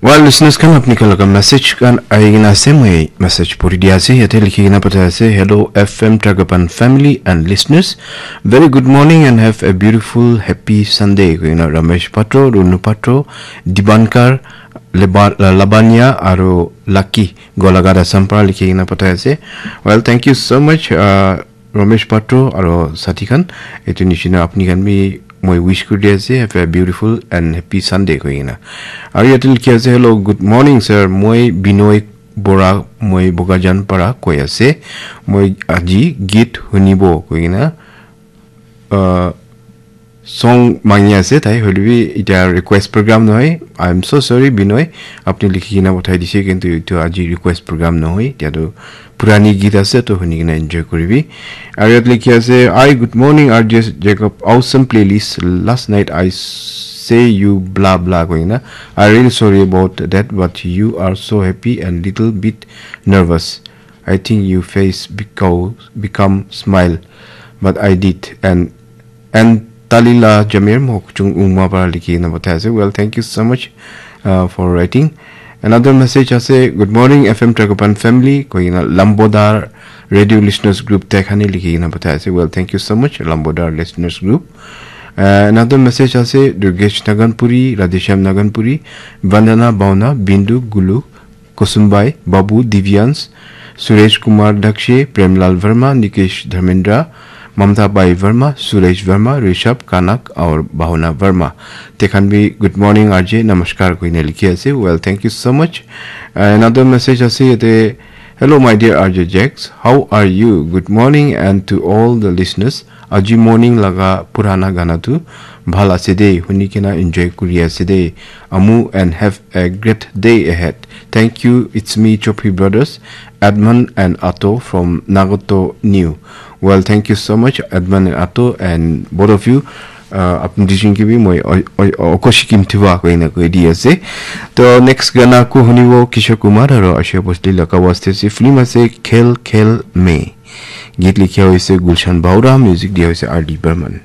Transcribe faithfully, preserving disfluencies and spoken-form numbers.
Well, listeners khan, apni khan laga message khan ahi kena ase, moi message puri dia ase. Yate likhi kena pathai ase, "Hello F M Tragapan family and listeners. Very good morning and have a beautiful happy Sunday." Koi kena Ramesh Patro, Runu Patro, Dibankar, Leba-, Labanya aru Lucky Golaga Assam para likhi kena pathai ase. Well, thank you so much, uh, Ramesh Patro aru sathi khan. Etu nishina apni khan bi moi wish kuri dia ase, "Have a beautiful and happy Sunday," koi kena. Aru yate likhi ase, "Hello, good morning sir. Moi Binoy Bora, moi Bogajan para koi ase. Moi aji git hunibo," koi kena, uh, song mangi ase tai, hoilebi etia request program nohoi. "I'm so sorry, Binoy, apni likhi kena pathai dise, kintu etu aji request program nohoi, etia tu purani git ase, to huni kena enjoy kuribi." Aru yate likhi ase, "Hi, good morning, R J Jacob, awesome playlist. Last night I say you blah blah," koi kena. "I really sorry about that, but you are so happy and little bit nervous. I think you face because become smile, but I did." And And Talila Jamir Mokchung Uma para likhi kena pathai ase. Well, thank you so much, uh, for writing. Another message ase, "Good morning, F M Tragopan family," koi kena Lambodar Radio Listeners Group te khan he likhi kena pathai ase. Well, thank you so much, Lambodar Listeners Group. Uh, another message ase, Durgesh Naganpuri, Radheshyam Naganpuri, Vandana Bauna, Bindu Gulu, Kusumbai, Babu, Divyans, Suresh Kumar Dakshe, Premlal Verma, Nikesh Dharmendra, Mamta Bai Verma, Suresh Verma, Rishabh Kanak, aur Bhavana Verma. Te khan bi, "Good morning, R J, namaskar," koina likhi ase. Well, thank you so much. Uh, another message ase yate, "Hello, my dear R J Jax. How are you? Good morning, and to all the listeners. Aji morning laga purana gana tu bhal ase de, huni kena enjoy kuri ase de. Amu and have a great day ahead. Thank you. It's me, Chopri Brothers, Edmund and Ato from Nagoto New." Well, thank you so much, Edmund and Ato, and both of you. Uh, apni duijon ke bi moi o-, o-, okoshi kim thiwa koina koi di ase. To next gana ko hunibo Kishore Kumar aro Asha Bhosle laga waste se film ase Khel Khel Mein. Git likhia hoise Gulshan Baura, music dia hoise R D Burman.